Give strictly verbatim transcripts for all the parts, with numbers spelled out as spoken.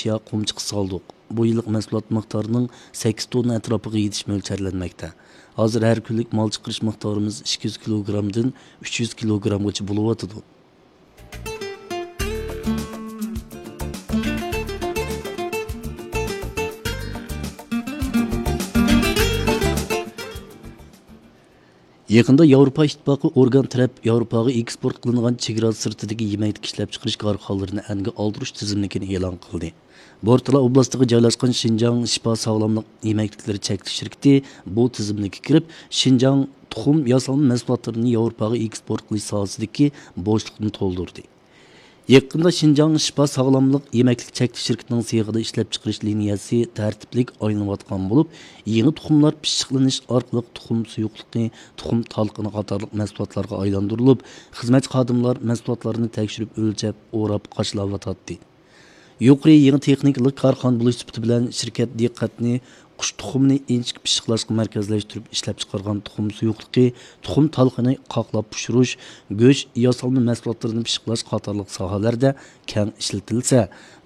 يا قۇمچىقى سالدۇق. بۇ يىللىق مەھسۇلات مىقدارىنىڭ سەككىز توننا ئەتراپىغا يېتىشى مۆلچەرلەنمەكتە. ھازىر ھەر كۈنلۈك مال چىقىرىش مىقدارىمىز ئىككى يۈز كىلوگرامدىن ئۈچ يۈز كىلوگرامغىچە بولۇۋاتىدۇ. يېقىندا ياۋروپا ئىتتىپاقى ئورگان تەرەپ ياۋروپاغا ئېكسپورت قىلىنغان چېگرا سىرتىدىكى يېمەكلىك ئىشلەپچىقىرىش كارخانىلىرىنى ئەنگە ئالدۇرۇش تىزىملىكىنى ئېلان قىلدى. بورتالا ئوبلاستىغا جايلاشقان شىنجاڭ شىپا ساغلاملىق يېمەكلىكلىرى چەكلىك شىركىتى بۇ تىزىملىككە كىرىپ، شىنجاڭ تۇخۇم ياسالما مەھسۇلاتلىرىنى ياۋروپاغا ئېكسپورت قىلىش ساھەسىدىكى بوشلۇقنى تولدۇردى. يېقىندا شىنجاڭ شىپا ساغلاملىق يېمەكلىك چەكلىك شىركىتىنىڭ سېخىدا ئىشلەپچىقىرىش لىنىيەسى تەرتىپلىك ئايلىنىۋاتقان بولۇپ، يېڭى تۇخۇملار پىششىقلىنىش ئارقىلىق تۇخۇم سۇيۇقلۇقى، تۇخۇم تالقىنى قاتارلىق مەھسۇلاتلارغا ئايلاندۇرۇلۇپ، خىزمەتچى خادىملار مەھسۇلاتلارنى تەكشۈرۈپ ئۆلچەپ، ئوراپ، قاچىلاۋاتاتتى. يۇقىرى يېڭى تېخنىكىلىق كارخانا بولۇش سۈپىتى بىلەن شىركەت دىققەتنى قۇش تۇخۇمىنى ئىنچىكە پىششىقلاشقا مەركەزلەشتۈرۈپ ئىشلەپچىقارغان تۇخۇم سۇيۇقلۇقى، تۇخۇم تالقىنى قاقلاپ پىشۇرۇش، گۆش، ياسالما مەھسۇلاتلىرىنى پىششىقلاش قاتارلىق ساھەلەردە كەڭ ئىشلىتىلسە،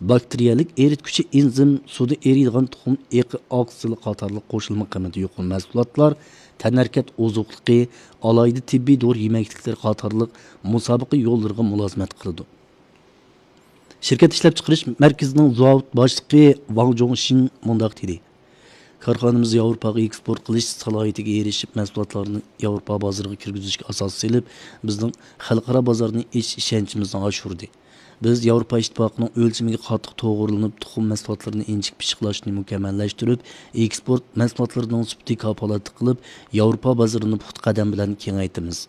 باكتېرىيەلىك ئېرىتكۈچى ئېنزىم، سۇدا ئېرىيدىغان تۇخۇم ئېقى ئاكسىلى قاتارلىق قوشۇلما قىممىتى يۇقىرى مەھسۇلاتلار، تەنھەرىكەت ئوزۇقلۇقى، ئالاھىدە تېببىي دورا يېمەكلىكلىرى قاتارلىق مۇسابىقە يوللىرىغا مۇلازىمەت قىلىدۇ. شىركەت ئىشلەپچىقىرىش مەركىزىنىڭ زاۋۇت باشلىقى ۋاڭ جوڭشىڭ مۇنداق دېدى: كارخانىمىز ياۋروپاغا ئېكسپورت قىلىش سالاھىيىتىگە ئېرىشىپ، مەھسۇلاتلارنى ياۋروپا بازىرىغا كىرگۈزۈشكە ئاساس سېلىپ، بىزنىڭ خەلقئارا بازارنى ئېچىش ئىشەنچىمىزنى ئاشۇردى. بىز ياۋروپا ئىتتىپاقىنىڭ ئۆلچىمىگە قاتتىق توغرىلىنىپ، تۇخۇم مەھسۇلاتلىرىنى ئىنچىكە پىششىقلاشنى مۇكەممەللەشتۈرۈپ، ئېكسپورت مەھسۇلاتلىرىنىڭ سۈپىتى كاپالەتلىك قىلىپ، ياۋروپا بازىرىنى پۇختا قەدەم بىلەن كېڭەيتىمىز.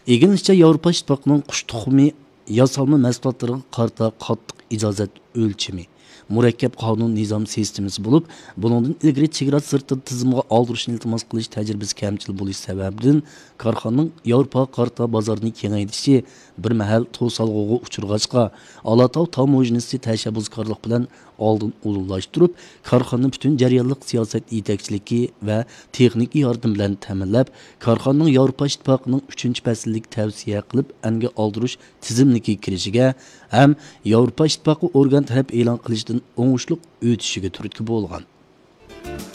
ئىگىلىنىشىچە، ياۋروپا ئىتتىپاقىنىڭ قۇش تۇخۇمى ياسالما مەھسۇلاتلىرىغا قارىتا قاتتىق ئىجازەت ئۆلچىمى، مۇرەككەپ قانۇن نىزام سىستېمىسى بولۇپ، بۇنىڭدىن ئىلگىرى چېگرا سىرتىدا تىزىمغا ئالدۇرۇشنى ئىلتىماس قىلىش تەجرىبىسى كەمچىل بولۇش سەۋەبىدىن، كارخانىنىڭ ياۋروپاغا قارىتا بازارنى كېڭەيتىشى بىر مەھەل توسالغۇغا ئۇچرىغاچقا، ئالاتاۋ تاموژنىسى تەشەببۇسكارلىق بىلەن ئالدىن ئۇلۇغلاشتۇرۇپ، كارخانىنى پۈتۈن جەريانلىق سىياسەت يېتەكچىلىكى ۋە تېخنىكا ياردىمى بىلەن تەمىنلەپ، كارخانىنىڭ ياۋروپا ئىتتىپاقىنىڭ ئۈچىنچى پەسىللىك تەۋسىيە قىلىپ ئەنگە ئالدۇرۇش تىزىملىكىگە كىرىشىگە ھەم ياۋروپا ئىتتىپاقى ئورگان تەرەپ ئېلان قىلىشىدىن ئوڭۇشلۇق ئۆتۈشىگە تۈرتكە بولغان.